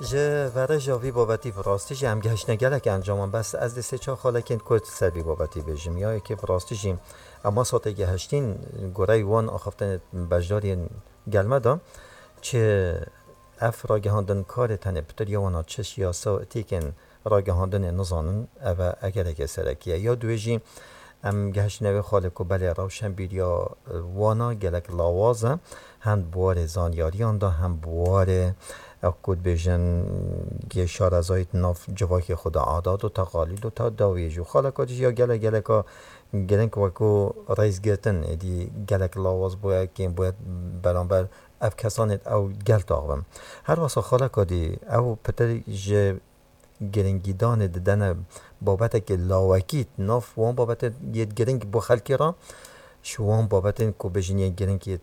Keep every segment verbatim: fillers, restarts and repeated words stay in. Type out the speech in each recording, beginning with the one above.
Ji verêja vî babetî bi rastî jî em gehiştine gelek encaman, bes ez dê sê çar xalekên kurt ser vî babetî bêjim. Ya yekê bi rastî jî em wesa tê gehiştîn, gorey wan axaftinê beşdariyên gel me de, çi ev ragihandin karê tenê pitir ya wana çi yasa û etîkên ragihandinê nizanin, ev e egereke serekî ye. Ya duwê jî em gehiştine wê xalê ku belê rewşenbîriya wana gelek lawaz e, hem bi warê zanyariyan de, hem bi warê, ew ku dibêjin, yê şarezayî di nav civakê xwe de, adat û teqalîd û te-, dawiyê jî û xaleka dî jî ya gelek geleka girîng wekû rêzgirtin êdî gelek lawaz bûye, kêm bûye beramber ev kesanê ew gel taxivin. Her wesa xaleka dî ew pitir ji girîngîdanê didene babetekê lawekî di nav wan babetên yê girîng bo xelkê re, ji wan babetên ku bêjin yên girîng yê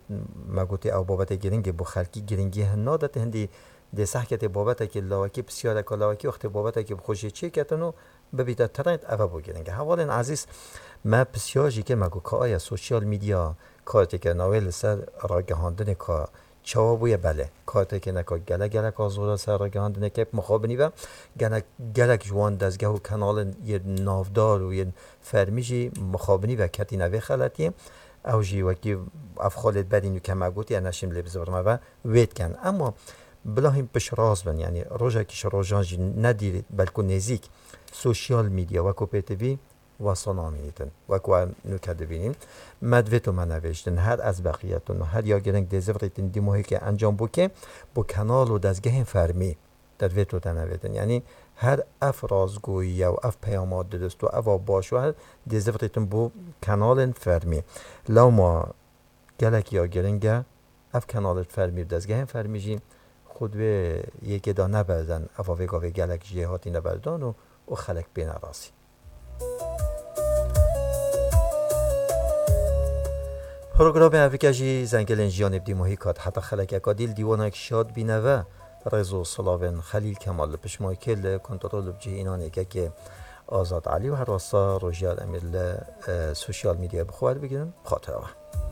me gotê ew babetê girîng ê bo xelkî girîngî hin nade, tê hindî dê sehkê tê babetekê lawekî, pisyareka lawekî wextê babetekê bi xwe jê çêketin û bibîte trend, ev e bo girîng e. Hevalên ezîz, me pisyar jî kir, me got ka aya sosyal medya kartêkirina wê li ser ragihandinê ka çawa bûye? Belê, kartêkê neka gelek gelek a zor e ser ragihandinê kep mixabinî ve. Gelek, gelek ji wan dezgeh û kenalên yên navdar û yên fermî jî mixabinî ve ketîne vê xeletiyê. Ew jî wekî ev xalê berî nûke me gotî, ez neşîm lê bizivirime ve wê dikin. Ema bila hîn piştrast bin, yanî rojekî ji rojan jî ne dîr belku nêzîk sosyal medya wekû pêtivî wesa namînîtin. Wek we nûke dibînîn, me divêt û me nevêjtin, her ez beqiyetin û her ya girîng dê zivirîtin dîmohîkê encam bûkê, bo kenal û dezgehên fermî te divêt û te nevêtin. Yanî her ev rastgoyî ye û ev peyama dirust û eva baş û her dê zivirîtin bo kenalên fermî. Lewma gelek ya girîng e, ev kenalên fermî û dezgehên fermî jî xwe di wê yekê de neberden, eva vê gavê gelek jê hatîne berdan û, û xelek bêne razî. Programê evike jî Zengelên Jiyanê bi dîmohî kat heta xelekeka dî li dîwanek şad bîne ve. Rêz û silavên Xelîl Kemal li piştmakê li kontrol û bi cihînanê kekê Azad Elî û her wesa Rojiyar Emîr li, e, sosyal medyayê bi xwe werbigirin. Bi xatir we.